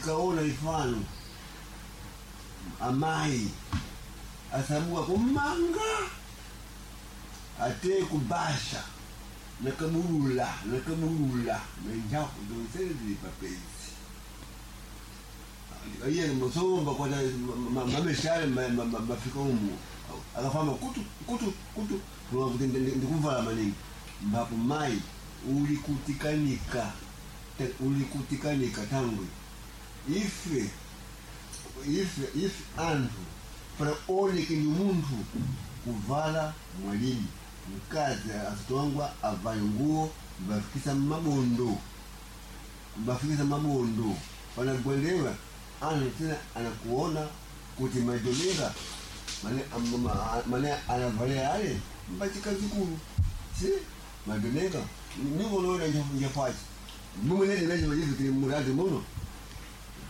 Tikaona ifano amayi asabuka kumanga ate kubasha nakabulula nakabulula nenjaku zonsene zili papezi iye musomba kwata mameshale mafika umu akafamba kutu kutu kutu kuti ndikuvala maningi mbapo mayi ulikutikanika ulikutikanika tangwe ife ife ife anthu para oneke ni munthu kuvala mwalili mkazi asitongwa avale nguo mbafikisa mabondo mbafikisa mabondo panagwendewa anthu tena anakuona kuti madomera mane mane anavalia ale mbachikazikulu si madomera nikonoona njafachi mumwe nene nacho majifikiri murazi muno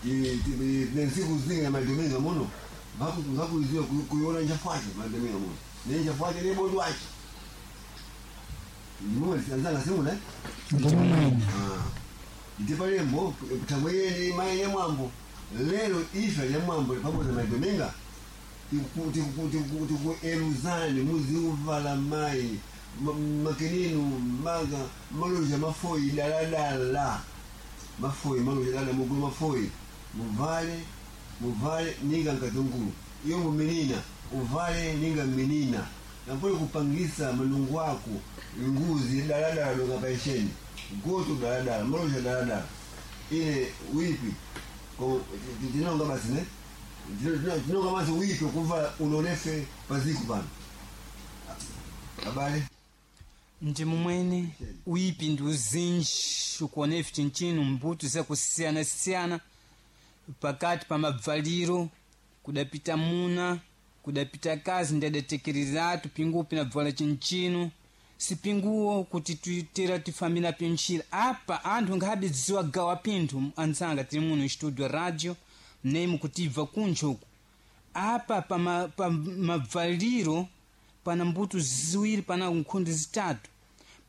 nensiku zingi na madominga muno vakuziwa kuiona njafache madominga muno nenjafache nebondwache mumwe anzanga simuna Ndimumwene. ndipalembo tangwe yene mai yemwambo lero ife yemwambo pamodzi madominga tikueluzani muziuvala mai makeninu maga maloja mafoyi daladala mafoyi maloja dala mugulu mafoyi muvale muvale ninga nkatungulu iyo muminina uvale ninga minina napole kupangisa malungu ako nguzi daladala donga paisheni goto daladala maloja daladala ile wipi tinonga basi ne tinonga basi wipi kuvala unonefe paziku pano abale Ndi mumwene uipi ndi uzinji ukuona ife chinchino mbuto zakusiyana-siyana pakati pa mabvaliro kudapita muna kudapita kazi ndadatekereratu pingupi nabvala chinchino sipinguwo kuti tuitera tifambira pinchira apa anthu ngahabe dziwa gawa pinthu anzanga tili muno studio radio neimu kutibva kuncho uku apa pa mabvaliro pana mbuto ziwiri pana nkhundu zitatu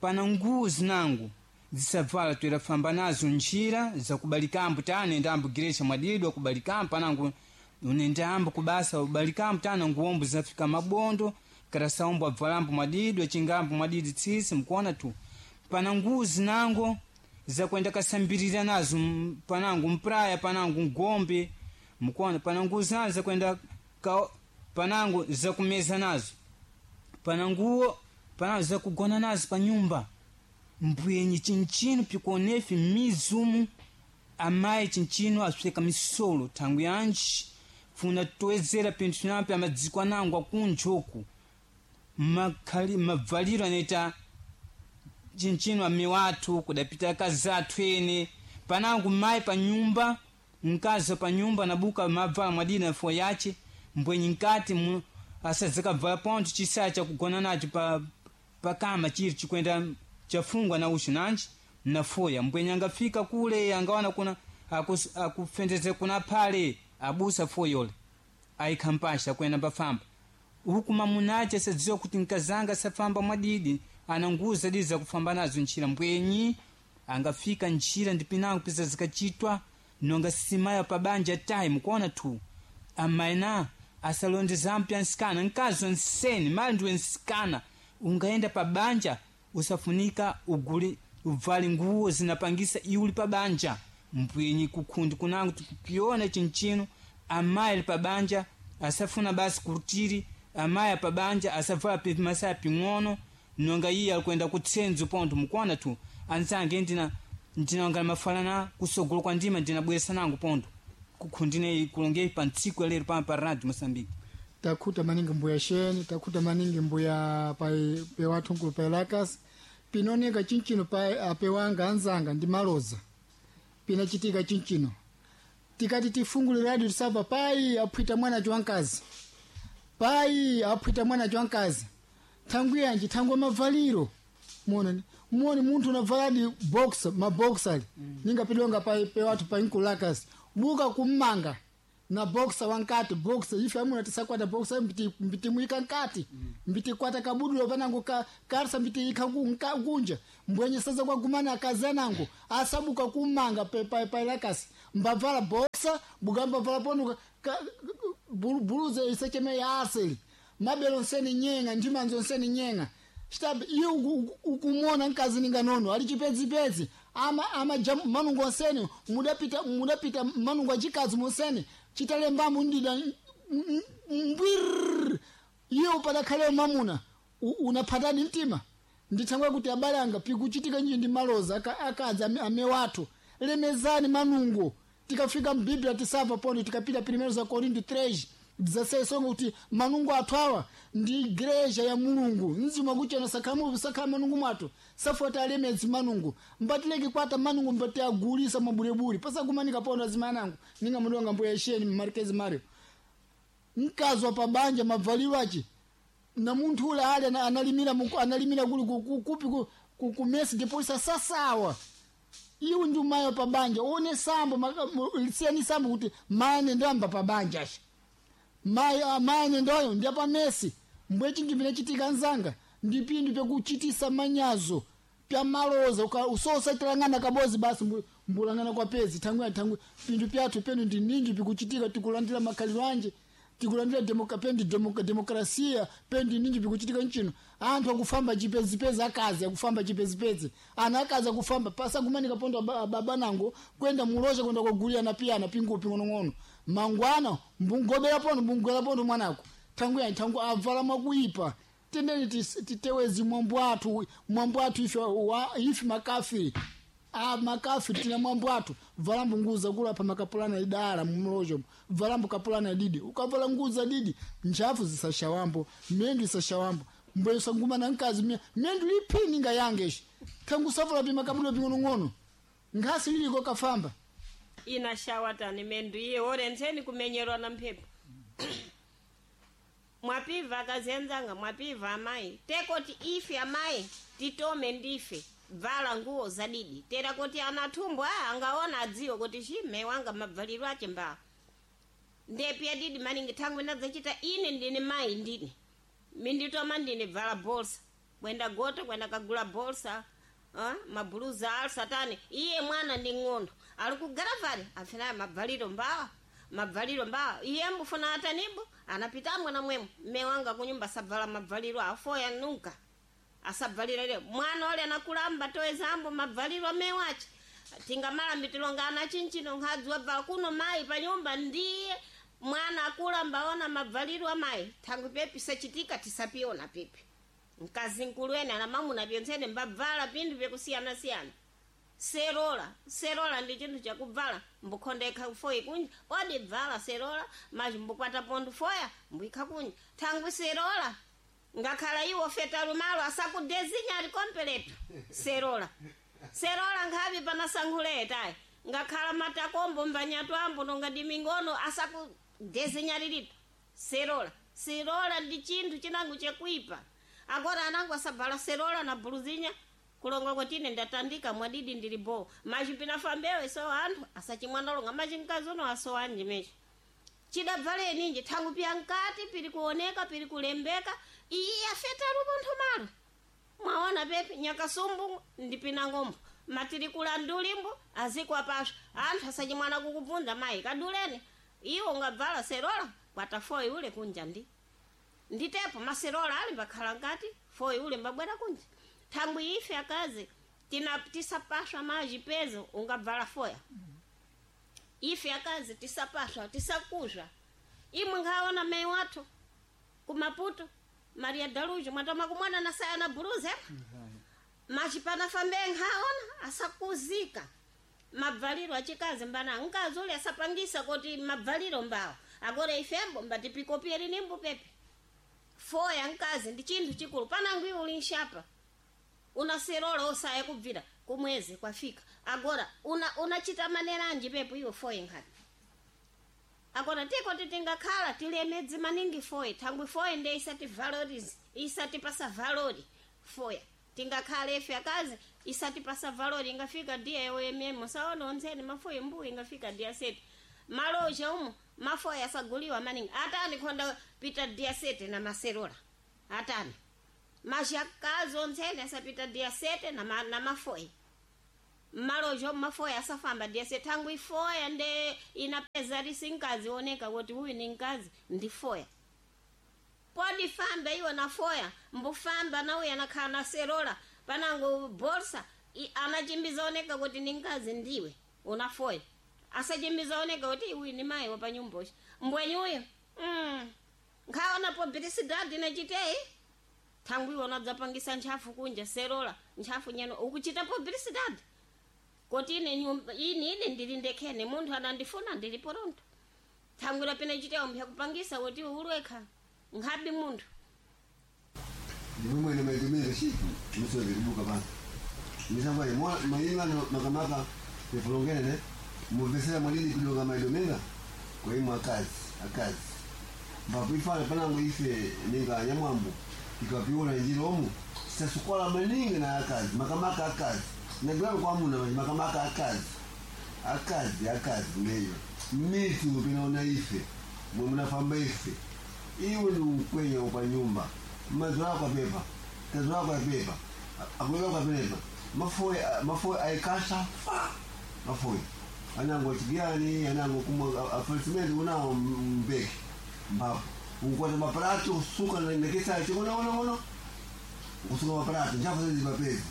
pana nguwo zinango zisavala toerafamba nazo njira zakubalikambo tana ambo girecha mwadidwa kubalikambo panango unendambo kubasa ubalikambo tana nguwombo zinafika mabondo karasaombo abvalambo mwadidwa chingambo mwadidi tsisi mkuona tu pana nguwo zinango zakwenda kasambirira nazo panango mpraya panango ngombe mkuona pana nguwo zinazo zakwenda panango zakumeza nazo pana nguwo pana zakugona nazo pa nyumba mbwenyi chinchino pikuonefi mizumu amayi chinchino asweka misolo thangu yanji funa toezera pinthu nampe amadziko anango akunjoku makhali mabvaliro anaita chinchino amiwathu kudapita akazi athu ene panango mayi pa nyumba mkazi pa nyumba nabuka mavala mwadina na yace mbwenyi nkati asadzakabvala pontho chisaya chakugona nacho pa pakama chiri chikwenda chafungwa na uchu nanji nafoya mbwenye angafika kule angawana kuna akufendeze kuna phale abusa foyole ayikhampasha kwenda pafamba uku mamunache asadziwa kuti nkazanga safamba mwadidi ana nguwo zadidi zakufamba nazo ntchira mbwenyi angafika ntchira ndipinango pisa zikachitwa nonga simaya pabanja tayi mukuona tu amaina asalondeza mpya nsikana nkazi nseni mali ndiwe nsikana ungaenda pabanja usafunika uguli uvale nguwo zinapangisa iuli pabanja mbwenyi kukhundi kunango tikukiona chinchino amayi ali pabanja asafuna basi kurutiri amayi apabanja asavala masaya ping'ono nonga iye alikwenda kutsenzo pontho mukuona tu anzange ndina ndinanga mafalana kusogolo kwa ndima ndinabweresa nango pontho kukhundine kulongei pa ntsiku yalero pano pa radio Moçambique Takhuta maningi mbuya sheni takhuta maningi mbuya pai pewathunkulu paelakas pinoneka chinchino pa apewanga anzanga ndi maloza pinachitika chinchino tikati tifungule radio tisapa pai aphwita mwana wankazi pai aphwita mwana wankazi thangu yanji thangu mavaliro muone muone munthu unavaladi boxer maboxer ningapidonga pa pewathu pa nkulakas buka kummanga na boxer wankati boxer ife amuna tisakwata boxer mbiti mbiti muika nkati mbiti kwata kabudulo panango ka karsa mbiti ika kunja mbwenye sasa kwa gumana akazanango asabuka kummanga pe pa pa lakasi mbavala boxer. boksa bukamba vala pono buluza isacheme ya asili mabelo nseni nyenga ndimanzo nseni nyenga chitabe iye ukumona mkazi ninga nono ali chipedzipedzi ama ama jam, manungo nseni mudapita mudapita manungo achikazi museni chitalembamo ndida mbwirr iye upadakhale mamuna unaphatani mtima ndithangwe kuti abale anga pikuchitika nji ndi maloza akadzi ame wathu lemezani manungo tikafika mbiblia tisava pono tikapita primero za Korinto 3 16 songa kuti manungo athu awa ndi igreja ya Mulungu mzimu wakuchena sakhamu sakhala manungo mwathu safuata alemedzi manungo mbatileke kwata manungo mbati agulisa mabulebule pasakumanika pono azimanango ninga mudonga mbuya isheni Marquez Mario mkazi wa pabanja mavaliro achi na munthu ule ali analimira analimira kuli kupi ku mesi deposa sasawa iwe ndi umayo pabanja one sambo siyani sambo kuti mane ndamba pabanja asha mayi mane ndoyo ndi pamesi mbwe chinthu pinachitika nzanga ndi pinthu pyakuchitisa manyazo pya maloza usosatilang'ana kabozi basi mbulang'ana kwa pezi thangwi thangwi pinthu pyathu penu ndi ninji pikuchitika tikulandira makhaliro anje tikulandira pendi demokrasia pendi ninji pikuchitika nchino anthu akufamba chipezipezi akazi akufamba chipezipezi ana akazi akufamba pasakumanika pondo baba nango kwenda muloza kwenda kugulira na piyana pingupi ng'onong'ono mangwana mbungobera pono mbungwera pono mwanako thangu yani thangu avala mwakuipa tendeni titewezi mwambo athu mwambo athu ife ife makafiri a makafiri tina mwambo athu valambo nguza kula pa makapulana idala mumlojo valambo kapulana didi ukavala nguza didi nchafu zisashawambo mendu isashawambo mbwe sanguma na nkazi mendu lipini nga yangeshi tangu savala pa makabula ping'onong'ono nkhasi liliko kafamba inashawatani mendu iye orentseni kumenyerwa na mphepo mwapiva akazenzanga mwapiva amayi tekoti ife amayi titome ndife bvala nguwo zadidi tera kuti anathumbo a angaona adziwe kuti chime wanga mabvaliro ache mbaa ndepya didi maningi thangwi ndadzachita ine ndine mayi ndine minditoma ndine bvala bolsa kwenda gota kwenda kagula bolsa mabhuluza al satani iye mwana ndi ng'ondo ali kugaravali afinayo mabvaliro mbawa mabvaliro mbawa iye mbufuna atanimbo anapita mwana mwemo mme wanga kunyumba sabvala mabvaliro afoya nunka asabvalira leo mwana ole anakulamba toezambo mabvaliro amewache tingamalami tilonga ana chinchino nkhadzi wabvala kuno mayi panyumba ndiye mwana akulamba ona mabvaliro amayi thangwi pepi sachitika tisapiona pipi mkazi nkulu ene ana mamuna pyontsene mbabvala pinthu pyakusiyanasiyana serola serola ndi chinthu chakubvala mbukhonda foyi kunja odi bvala serola machi mbukwata pontho foya mbuyikha kunja thangwi serola ngakhala iwo feta lumalo asakudezinya ali kompeleto serola serola nkhavi panasankhuletayi ngakhala matakombo mbanyatwambo nonga ndi mingono asakudezinya lilipo serola serola ndi chinthu chinango chekuipa agora anango asabvala serola na buluzinya kulonga kwatine ndatandika mwadidi ndili bo machi pinafambewe so anthu asachimwanalonga machi mkazi uno asowanji mechi chidabvale ninji thangu pya nkati pili kuoneka pili kulembeka iyi afeta lupontho malo mwaona pepi nyakasumbu ndipinangombo matili kulandulimbo azikwapasha anthu asachimwana kukubvunza mayi kaduleni iwo ungabvala serola kwata foyi ule kunja ndi nditepo maserola ali mbakhala nkati foyi ule mbabwera kunja thangwi ife akazi tina tisapaswa maji pezo ungabvala foya ife akazi tisapaswa tisakuzva imwe ngaona mai wathu kumaputo maria dalujo mwatoma kumwana nasaya na buluze machipana fambe nkhaona asakuzika mabvaliro achikazi mbana mkazi ule asapangisa kuti mabvaliro mbawo agora ifembo mbatipikopie linimbo pepe foya mkazi ndi chinthu chikulu panango iwe uli nshapa unaserola osaya kubvira kumwezi kwafika agora unachita una maneranji pepo iwe foye nkhati agora tiko titingakhala tilemedzi maningi foye thangwi foye nde isati valorize isatipasa valori foya tingakhala ife akazi isatipasa valori ingafika dia yoyemyemo saona onzeni mafoye mbuyi ingafika dia seti maloja umo mafoya asaguliwa maningi atani khonda pita dia sete na maserola atani mashakazi ontsene asapita dia sete na, na mafoyi Mmalojo mafoya asafamba ndiyese thangu ifoya nde inapeza lisinkazi oneka kuti uyu ni mkazi ndi foya. Podi famba iwo na foya mbufamba na uyu anakhala na serola panango bolsa anachimbiza oneka kuti ni mkazi ndiwe una foya, asachimbiza oneka kuti uyu ni mayi wapanyumbochi mbwenyi uyu nkhaona pobirisidadi nachiteyi thangwi iwo nadzapangisa ntchafu kunja serola ntchafu nyeno ukuchita pobirisidadi koti ine nyumba ini ine ndili ndekhene munthu anandifuna ndili poronto thangwira pene chitewo mphyakupangisa kuti ulwekha nkhabi munthu. Ndimwe mwene maitumira shiku misozi kubuka pano misamba mayimano makamaka pefulongene muvesera mwalili kudonga maidomenga kwa imwe akazi akazi mbakuifana panango ife ninga nyamwambo ikapiona njira omu sasukwala maningi na akazi makamaka akazi nagilano kwamuna makamaka akazi akazi akazi meyo mitu pinaona ife mwe munafamba ife iwe ni ukwenya pa nyumba mazo ako apepa tazo ako apepa akuleka kwa pepa mafoyi mafoyi aikasha fa mafoyi anango chigani anango kumwa afasimenti unawo mbeki mbapo ukwata maprato usuka nekesa chikono ono ono kusuka maprato nchafu zezi mapezi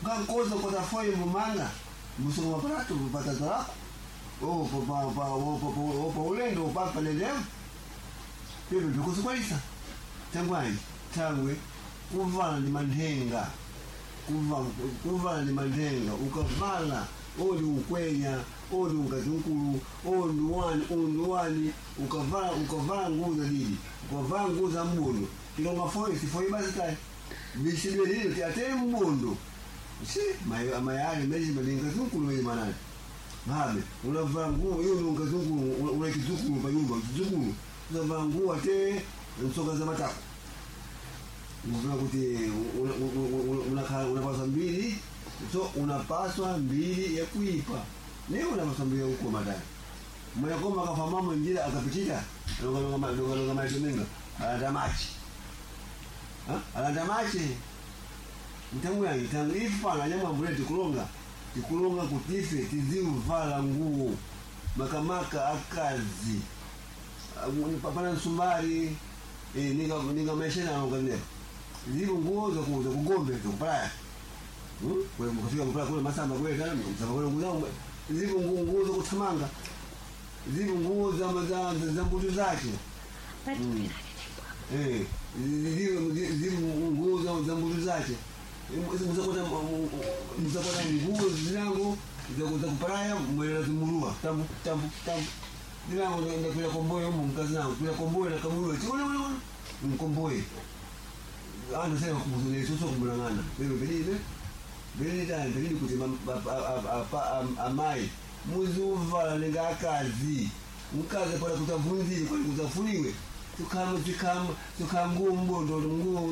ngankoza kwata foyi mumanga musuka maprato patato lako oh pa pa pa pa ulendo pa pa leleo pepe bikusukwalisa tangwani tangwe kuvala ndi manthenga kuvala ndi manthenga ukavala odi ukwenya odi ukazinkulu odi wani odi wani ukavala ukavala nguo za didi ukavala nguo za mbondo tilonga foyi sifoyi basi tayi bishidwe lino tiatele mbondo si mayali meji malinga zinkulu meji manani mabe unavala nguo iyo ni ukazinkulu una kizukulu pa nyumba kizukulu unavala nguo ate nsoka za matako unafuna kuti unapaswa mbili so unapaswa mbili ya kuipa ne unapaswa mbili ya kukoma tani mwenakoma akafa mama njira akapichita longalonga maitomenga alanda machi alanda machi mtangu yangi tangu ifana nyamwambule tikulonga tikulonga kuti ife tiziuvala nguo makamaka akazi pana msumbari ninga maisha na ngaleo ziko nguo za za kugombe za kupalaya kwa mkafika kupalaya kule masamba kule kana msamba kule nguo ziko nguo za kutamanga ziko nguo za za za mbutu zake ziko ziko nguo za za mbutu zake mzakota mzakota nguo zinango za za kupalaya mwela zimurua tambu tambu tambu ndinango ndakwira komboyo umu mkazi nango kwira komboyo nakamulua chiona ona ona mkomboye anthu sena kubuzulesoso kumbulang'ana lero pelibe pelitani pelili kuti amayi muziuvala ninga akazi mkazi pala kutavunzire kwali kutafuliwe tukama tukama tukanguo mbondo nguo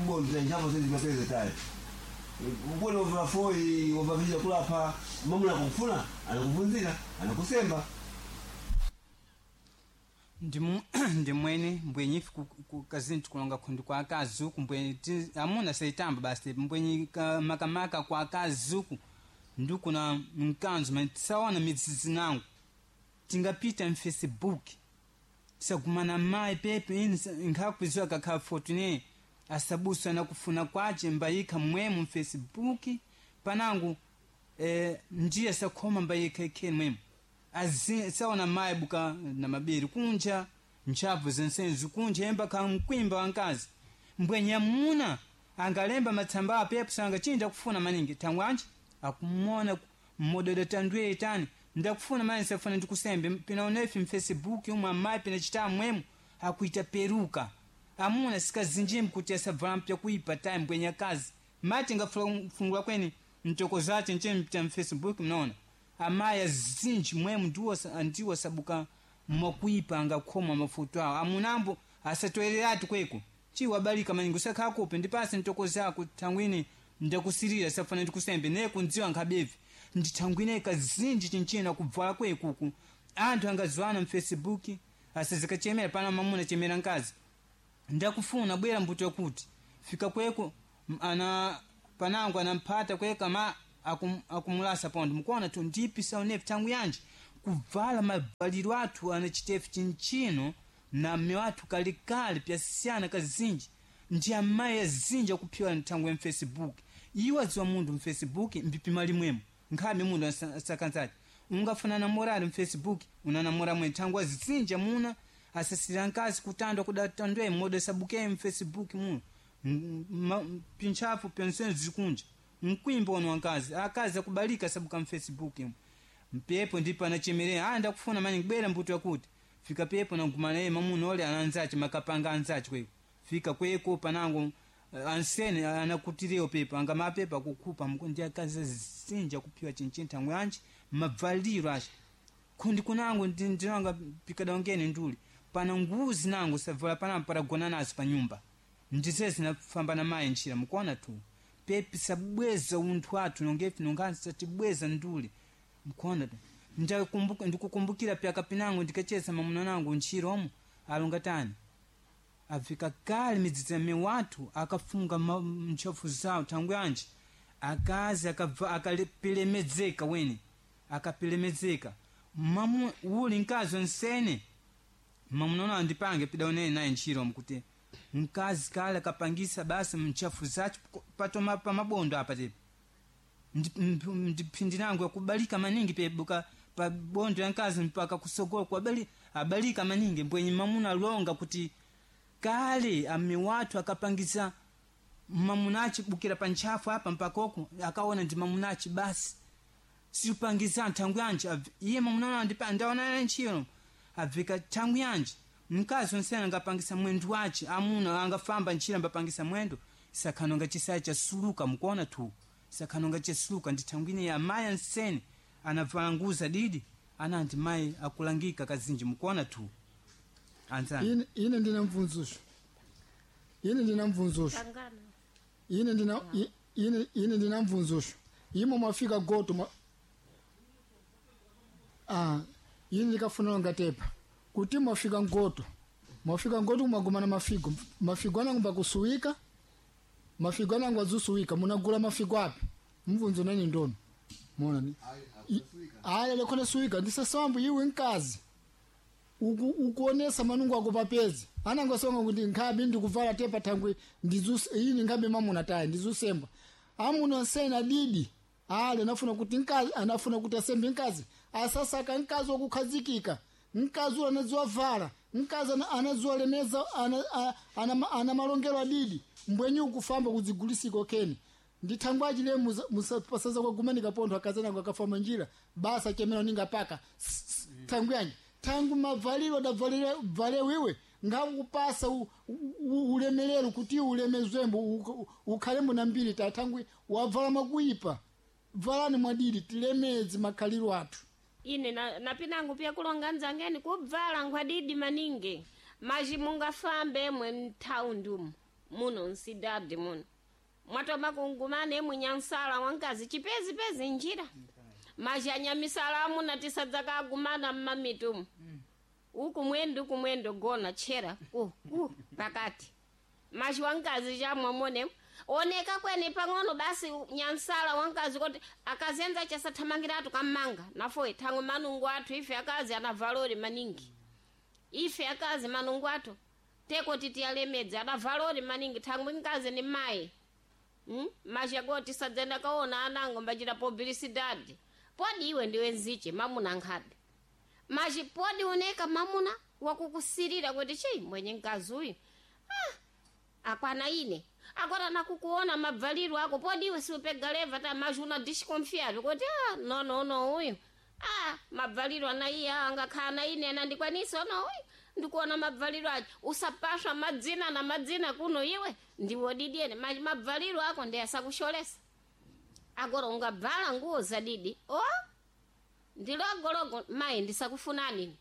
mbondo nchapo sezi mapeze tale mbona uvala foyi wavavija kulapa mamuna akufuna anakuvunzira anakusemba. Ndimwene mbwenyi ife kazini tikulonga khundi kwa akazi uku mbwenyi amuna saitamba basi mbwenyi makamaka kwa akazi uku ndikuna mkanzo mani tisaona midzidzi nangu tingapita mfacebook tisagumana mayi pepe ini nkhakuziwa kakhala fortune asabusa nakufuna kwace mbayikha mmwemo mfacebook panangu ndiye sakhoma mbayikha ikheni mwemo saona mayi buka na mabiri kunja ntchafu zensenzi kunja emba khala mkwimba wankazi mbwenye amuna angalemba matsamba apepo sanga chinja kufuna maningi thangwanji akumona mmododo tandwe tani ndakufuna mani safuna ndikusembe pinaonefi mfacebook umwe amayi pinachita mwemo akuita peruka amuna sikazinjimbi kuti asavala mpya kuipa tayi mbwenye akazi mati ngafungula kweni mtoko zace nche mfacebook mnaona amayi azinji mwemu ndiwo sabuka mwakuipa angakhoma mafuto awo amunambo asatoereratu kweko chiwabalika maningi usakhakupe ndipase ntoko zako thangwini ndakusirira safuna ndikusembe naye kundziwa nkhabevi ndithangwine kazinji chinchina kubvala kwekuku anthu angaziwana mfacebook asazikachemera pana mamuna chemera nkazi ndakufuna bwera mbuto yakuti fika kweko ana panango anamphata kweka ma akumulasa pondo mukuona tu ndipi saonepi tangu yanji kuvala mavaliro athu anachitefu chinchino na mme wathu kalikali pyasiyana kazinji ndi amayi azinji akuphiwa nthangu ya mfacebook iwo adziwa munthu mfacebook mbipima limwemo nkhabe munthu asakanzati ungafuna namorali mfacebook unanamora mwe nthangu azinji amuna asasira nkazi kutandwa kudatandwe modo sabuke mfacebook muno pintchafu pyonsene zikunja mkwimba ono wankazi akazi akubalika sabuka mfacebook mu mpepo ndipo anachemerera ah ndakufuna mani kubera mbuto yakuti fika pepo nagumana naye mamuna ole ananzache makapanga anzache kweko fika kweko panango ansene anakutireyo pepo anga mapepo akukhupa ndi akazi azinja kuphiwa chinchinthi angwe anji mabvaliro acho kundi kunango ndinanga pikadaongene nduli pana nguzi nango savala panambo paragona nazo pa nyumba ndize zinafamba na mayi ntchira mukuona tu pepi sabweza unthu athu nongefi nongansi satibweza nduli mukuona tu ndikukumbukira pyaka pinango ndikacheza mamuna nango ntchira omo alonga tani afika kale midzidzi miwathu akafunga ntchafu zawo thangwi anji akazi akapilemedzeka wene akapilemedzeka mamu uli mkazi onsene mamunona andipange pidaonene naye ntchiro mkuti mkazi kale akapangisa basi mchafu zacho patoma pamabondo apa tepo ndiphindi nangu yakubalika maningi pebuka pa bondo ya mkazi mpaka kusogola kuabali abalika maningi mbwenye mamuna alonga kuti kale ame wathu akapangisa mamunachi bukira pa ntchafu apa mpaka oku akaona ndi mamunachi basi siupangisa nthangu yanji iye mamuna ndaona ntchiro abveka thangu yanji mkazi onsene angapangisa mwendo wace amuna angafamba ntchira ambapangisa mwendo sakhanonga chisaya chasuluka mukuona tu sakhanonga chasuluka ndi thangu ine ya mayi ansene anavala nguza didi ananti mayi akulangika kazinji mukuona tu anzani Ine ndina mvunzusho ine ndina mvunzusho Tangana. ine ndina ine ndina mvunzusho imo mwafika goto mwa ah ine ndikafuna ngatepa kuti mwafika ngoto mwafika ngoto mwagumana mafigo mafigo anangu mbakusuwika mafigo anangu azusuwika munagula mafigo api mvunzo nani ndono mona ni aya lekhona suwika ndisasambu iwe nkazi ukuonesa manungu ako papezi anangosonga kuti nkhabi ndikuvala tepa thangwi ini nkhabi mamuna tayi ndizusemba amuna nsena didi ale anafuna kuti nkazi anafuna kuti asembe nkazi asasaka nkazi wakukhazikika nkazi ula anadziwa vala nkazi anadziwa lemeza ana malongelo adidi mbwenyi ukufamba kudzigulisiko keni ndithangwa achile pasaza kwagumanika pontho akazanango akafamba njira basa chemera ninga paka thangu yanji thangu mavaliro adavalire valewiwe ngakupasa ulemerero kuti ulemezwembo ukhalemo na mbiri ta thangwi wavala makuipa valani mwadidi tilemedze makhaliro athu ine napinangu pya kulonga nzangeni kubvala nkhwadidi maningi maji mungafambe mwe mthaundi umu muno nsidadi muno mwatoma kungumane emwe nyansala wankazi chipezipezi njira maji anyamisala amuna tisadzakagumana mmamitu umu uku mwendo uku mwendo gona tchera pakati maji wankazi chamwamone oneka kwene pang'ono basi nyansala wankazi kuti akazenza chasathamangiratu kammanga nafoye thangwe manungu athu ife akazi ana valori maningi ife akazi manungu athu teko titiyalemedze ana valori maningi thangwe nkazi ni mayi Maji tisadzenda kaona anango mbachita publicidade podi iwe ndiwe nziche mamuna nkhabe maji podi uneka mamuna wakukusirira kuti chii mwenye mkazi uyu akwana ine akwana nakukuona mabvaliro ako podi iwe siupega leva ta maji una disconfiado kuti no no no uyu mabvaliro ana iye angakhala na ine anandikwanisa ono uyu ndikuona mabvaliro acho usapaswa madzina na madzina kuno iwe ndiwo didiene maji mabvaliro ako ndi asakusholesa agora ungabvala nguwo zadidi o ndilogologo mayi ndisakufunani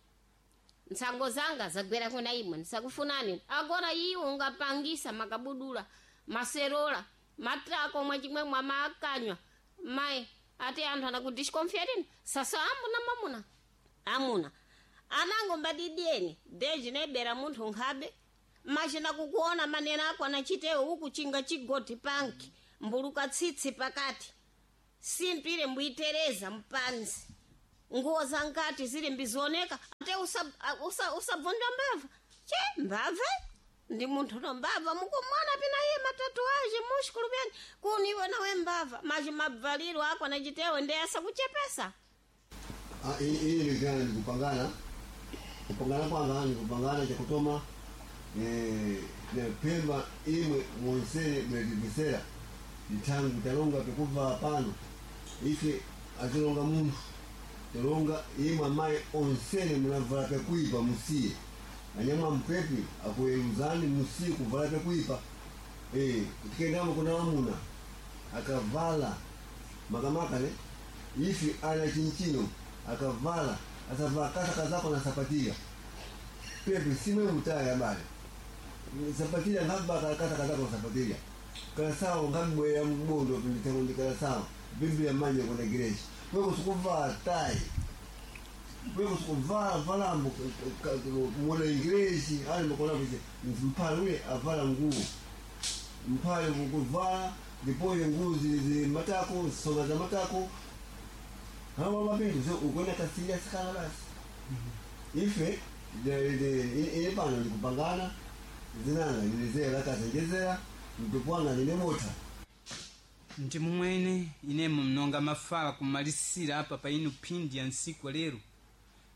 ntsango zanga zagwera kuna imwe ndisakufunani agora iwo ungapangisa makabudula maserola matrako mwachimwe mwamakanywa mayi ati anthu anakudisconfiatini sasa amuna mamuna amuna anango mbadidieni deji nebera munthu nkhabe machina kukuona manena ako anachitewo uku chinga chigoti panki mbuluka tsitsi pakati Sintu ile mbwitereza mpanzi nguo za nkati zili mbizioneka ate usabvunda usa, usabvunda mbava che mbava ndi munthu no mbava mukumwana pina iye matatuaje mushikulu pyani kuni iwe nawe mbava maji mabvaliro ako anachitewe ndi asakuchepesa. Ili nikana nikupangana kupangana kwanga nikupangana chakutoma na pemba imwe mwonsere mwetivisera ntangu talonga pekuva pano ife atilonga munthu talonga imwe amayi onsene munavala pekuipa musiye anyama mpepi akuyeluzani musiye kuvala pekuipa tikendamo kuna wamuna akavala makamaka ne ifi ana chinchino akavala asavala kasa kazako na sapatia pepe simwe mutaya bale sapatia ngaba kasa kazako na sapatia kalasawo ngabwera mbondo pinditengo kalasawo biblia manje kuna gireshi wewe usikuvala tai wewe usikuvala valambo mwana ingreshi ali mkona kuzi mpale ule avala nguo mpale kuvala ndipoye nguo zili matako songa za matako hawa mapindu so ukwenda kasilia sikana basi ife ile pano nikupangana zinanga nilizera kasenjezera mpepwanga ninemota. Ndi mumwene inemo mnonga mafala kumalisira apa pa inu phindi ya ntsiku lero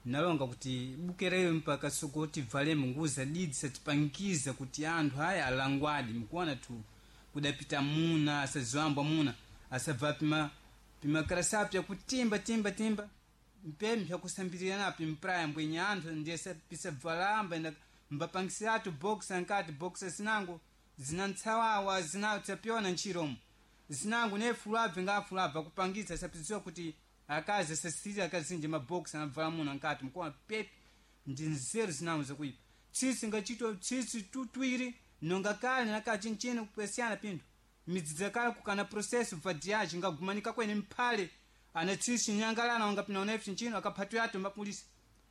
nalonga kuti bukereyo mpaka sokoti valemo nguo zadidi satipangiza kuti anthu aya alangwadi mkuona tu kudapita muna asaziwambwa muna asabva pima pimakarasa pyakutimba timba timba mpembe pyakusambirira napo mpraya mbwenye anthu ndiye pisabvalamba enda mbapangisiratu box ankati box zinango zina ntsawawa zina tapyona ntchiromo zinango nefulabve ngafulabve akupangitsa sapidziwa kuti akazi asasirira akazinji mabox anabvala muna nkati mkuona pepi ndi nzeru zinango zakuipa tsitsi ngachitwa tsitsi tutwiri nonga kale nakachinchini kupesiyana pinthu midzidza kale kukana processo vadiaji ngagumanika kwene mphale ana tsitsi nyangalana wanga pinaona ife chinchino akaphatwa yato mapulisa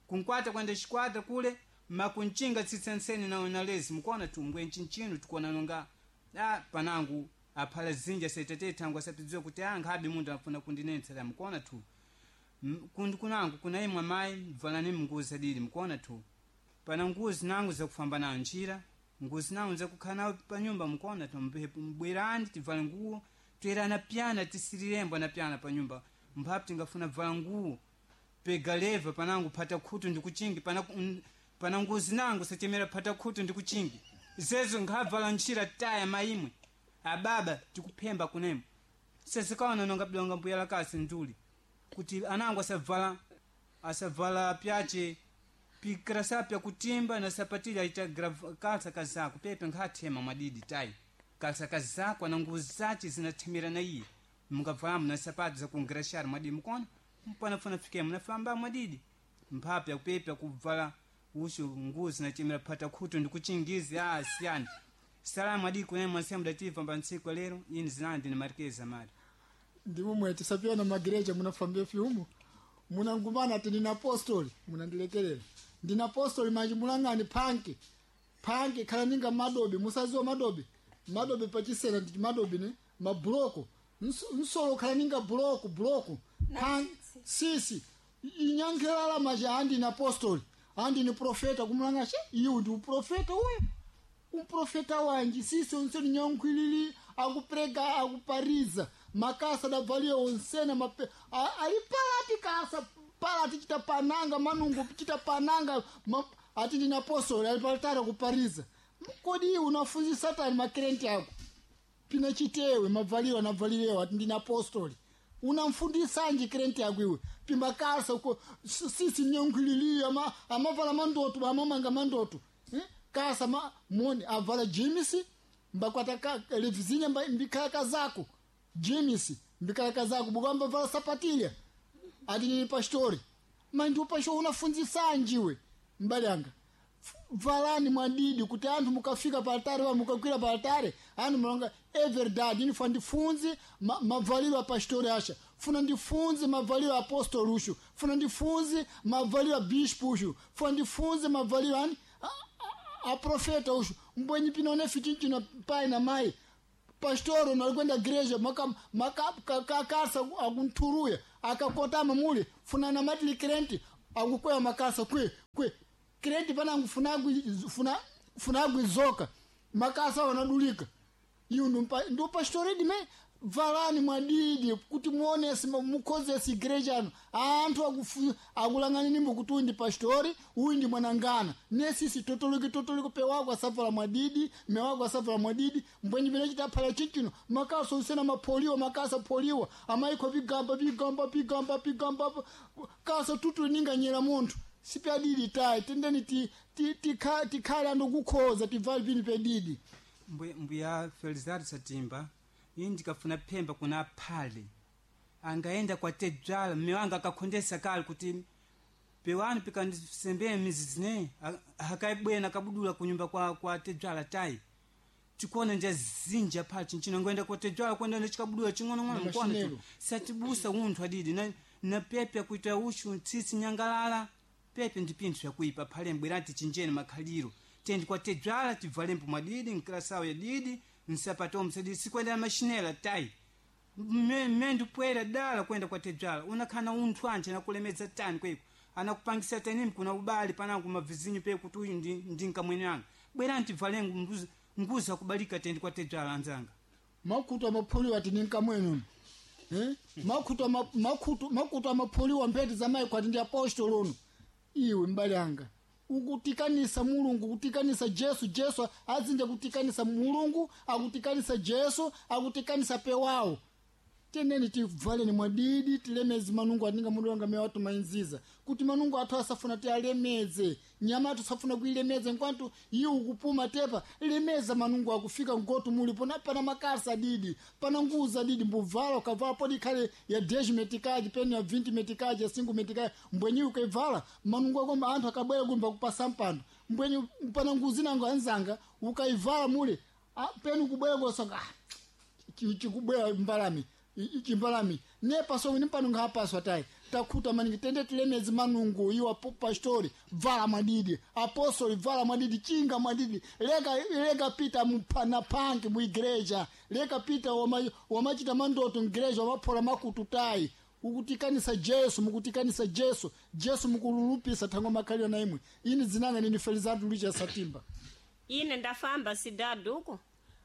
kunkwata kwenda chikwata kule makunchinga tsitsi nseni na na lezi mkuona tungwe nchinchino tikuona nonga a panangu aphala zinja saitate thangu asapidziwa kuti a nkhabe munthu afuna kundinetsera mkuona tu kundu kunangu kuna imwe mayi valani mnguzi adili mkuona tu pana nguzi nangu zakufamba nayo njira nguzi nangu zakukhala nayo panyumba mkuona tu mbwerani tivale nguwo toyerana pyana tisirirembo na pyana panyumba mphapu tingafuna vala nguwo pega leva panangu phata khutu ndikuchingi pana, pana nguzi nangu sachemera phata khutu ndikuchingi zezo nkhavala ntchira taya maimwe ababa tikuphemba kunemo sesikaona nonga bidonga mbuya lakasi nduli kuti anangu asavala asavala pyache pikrasa pyakutimba na sapatili aita kalsa kazako pepe nkhathema mwadidi tayi kalsa kazako ana nguzi zace zinathemera na iye mungavalamu na sapato zakungrashari mwadidi mukona mpanafuna fikemo nafamba mwadidi mphapu yakupepe yakuvala usho nguzi nachemera phata khutu ndikuchingizi a siyani salamu adidi kunene mwasemu dativa mba ntsiku lero ini zinandi ni marikeza mari. Ndimumwe tisapiyana magireja munafambia fyumu munangumana ati ndina apostoli munandilekelera ndina apostoli manji mulang'ani phanki phanki khala ninga madobi musaziwa madobi madobi pachisena ndi madobi ne mabuloko nsolo khala ninga buloko buloko phanki sisi inyankhelala maji andine apostoli andine profeta kumulanga she iwe ndi uprofeta uyu umprofeta wanji sisi onse ninyankhwilili akuprega akupariza makasa adabvaliya onsena mape ali palati kasa palati chita pananga manungo chita pananga ati ndine apostoli ali palitara kupariza kodi iwe unafunzi satani makrenti ako pina chitewe mabvaliro anabvalirewo ati ndine apostoli unamfundisanji krenti yako iwe pimakasa uko sisi nyankhwililiyo amavala mandoto amamanga mandoto Kasa ma, moni avala jimisi mbakwata levizinya mbikhala kazako jimisi mbikhala kazako bukamba vala sapatilya ati nini pastori mandi upasho unafunzisanjiwe mbalanga valani mwadidi kuti anthu mukafika pa altare pa mukakwira pa altare anthu mulonga everdad ini funa ndifunze mavaliro a pastori asha funa ndifunze mavaliro a apostolo ushu funa ndifunze mavaliro a bispo ushu funa ndifunze mavaliro ani a profeta ushu mbwenyi pinone fitinchino pai na mai Pastoro nalikwenda gereja makasa akunthuruya akakotama mule funana matili krenti akukwea makasa kwe kwe krenti panangu funagwi zoka makasa wanadulika iyu ndu pastori dime valani mwadidi kuti muonese mukhozese igreja ano anthu akulang'anini kuti uyu ndi pastori, uyu ndi mwanangana. Nesisi totoliki totoliki pewako asavala mwadidi, mewako asavala mwadidi. Mbwenyi pene chitaphala chichino makasa usena mapholiwa, makasa pholiwa amaikho vigamba vigamba vigamba vigamba kasa tutu ninganyera munthu sipadidi tayi. Tendeni tikhale anthu kukhoza tivale pini pedidi. Mbuya Felizardo Satimba, ini ndikafuna phemba kuna aphale angaenda kwa tedzwala mme wanga akakhondesa kale kuti pewani pikandisembee mizizi ne hakaibwena akabudula kunyumba kwa tedzwala tayi tikuona nja zinja phale chinchino ngoenda kwa tedzwala kwenda nechikabudula ching'onong'ono mkuona Mashinelo. satibusa unthu adidi na pepe akuita ushu tsitsi nyangalala pepe ndi pinthu yakuipa phale mbwerati chinjeni makhaliro tendi kwa tedzwala tibvalembo mwadidi nkilasawo yadidi nsapato msadidi sikwenda mashinela tayi mme ndipwera dala kwenda kwa tedzwala unakhana unthu anje anakulemedza tani kweko anakupangisa tanimi kuna ubali panangu mavizinyu pe kuti uyu ndi nkamwene anga bwerani tibvale nguza kubalika tendi kwa tedzwala anzanga. Makutu amapholiwa ati ninkamwene eh? Makutu amapholiwa mphete za maiko ati ndi apostolo uno. Iwe mbale anga ukutikanisa Mulungu, kutikanisa Jesu. Jesu azinja kutikanisa Mulungu, akutikanisa Jesu, akutikanisa pewawo. Teneni tivaleni mwadidi tilemeze manungu atinga mundu wanga mewa tumainziza kuti manungu athu asafuna tialemeze nyama athu safuna kuilemeza nkwantu iwo ukupuma tepa lemeza manungu akufika ngotu mulipo na pana makasa didi pana nguza didi mbuvala ukavala podi ikhale ya 10 metikaji peni ya 20 metikaji ya 5 metikaji mbwenyi ukaivala manungu ako anthu akabwera kumba kupasa mpando mbwenyi pana nguzi nango anzanga ukaivala mule peni kubwera kosonga chikubwera mbalame chimbalame nepaso nimpano ngapaswa tayi takhuta maningi. Tende tilemezi manungu iwo pastori vala mwadidi, apostoli vala mwadidi, chinga mwadidi, leka pita na panki muigreja, leka pita wamachita mandoto migreja wamaphola makutu tayi. Ukutikanisa Jesu, mukutikanisa Jesu, Jesu mukululupisa thango makhalira na imwe. Ini dzinanga nini Felizardo Lucha Satimba. Ine ndafamba sidadu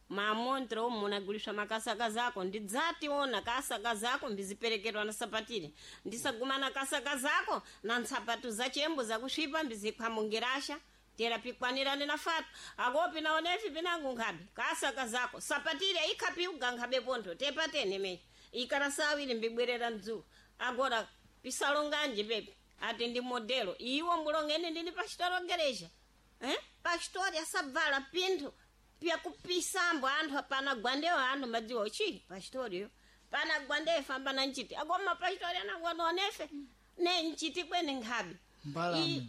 mamontre omu munaguliswa makasaka zako ndidzationa kasaka zako mbiziperekerwa na sapatile ndisagumana kasaka zako na ntsapatu za chembo zakusvipa mbizikhwamungirasha tera pikwanirane na fatu akopi naonefi pinangu nkhabe kasaka zako sapatile ikhapiuga nkhabe pontho tepatene meyi ikara sawiri mbibwerera mdzulo agora pisalonganje pepe ati ndi modelo iwo mbulongene ndini pachitolongereja eh? Pastori asabvala pinthu pyakupisambo anthu apana gwandewo anthu madziwa chi pastoriyo pana gwandeyo famba na nchiti akoma pastori anangwanonefe ne nchiti kwene nkhabe. Mbalame.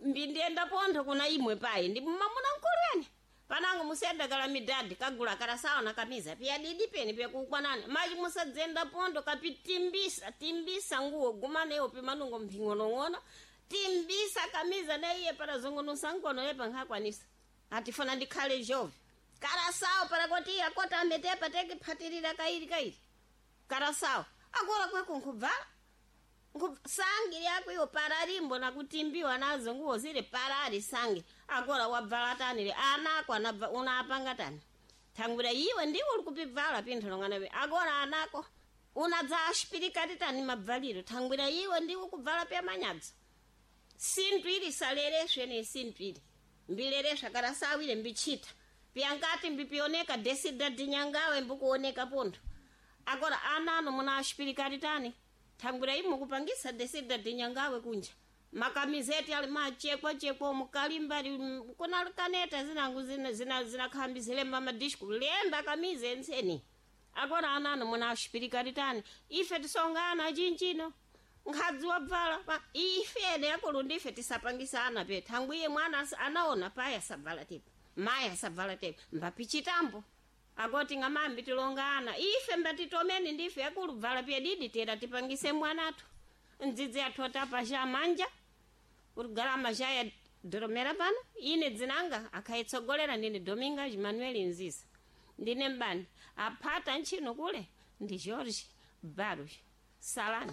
Mbindiyenda pontho kuna imwe payi ndi mamuna mkulweni panango musiyenda kala midadi kagula kala sawa na kamiza piya didi peni pyakukwanani machi musadzenda pontho kapitimbisa timbisa nguwo gumaneyo pimanungo mphing'onong'ono timbisa kamiza na iye parazungunusa nkono yepa nkhakwanisa atifuna ndikhale jove karasawo parakoti iye akota ametepa tekiphatirira kairi kairi karasawo akora kweko nkubvala sangi yako iyo pararimbo nakutimbiwa nazo nguwo zili parari sangi akora wabvala tani anako anabva unapanga tani thangwira iwe ndiwe uli kupibvala pinthu longanawe akora anako unadza ashipirikati tani mabvaliro thangwira iwe ndiwe kubvala pya manyadzo sinthu ili salereswe ne sinthu ili mbilereswa karasawire mbichita pyankati mbipioneka desida dinyangawe mbukuoneka pontho agora anano muna ashipirikati tani thangwira imwe kupangisa desida dinyangawe kunja makamizeti ali machekwachekwa mukalimba kuna kaneta zinangu zinakhambi zilemba madisku lemba kamize enseni agora anano muna ashipirikati tani ife tisongana chinchino nkhadzi wabvala ife ene akulu ndife tisapangisana pe thangwiye mwana anaona payi asabvala tepa mayi asabvala tepa mbapichitambo akoti ng'amambi tilongana ife mbatitomeni ndife akulu bvala pyedidi tera tipangise mwanathu ndzidzi athu otapasha manja kuti galama shaya doromera pano ine dzinanga akhaitsogolera ndine Dominga Manuel Nziza. Ndine mbani aphata ntchino kule ndi George Barros. Salani.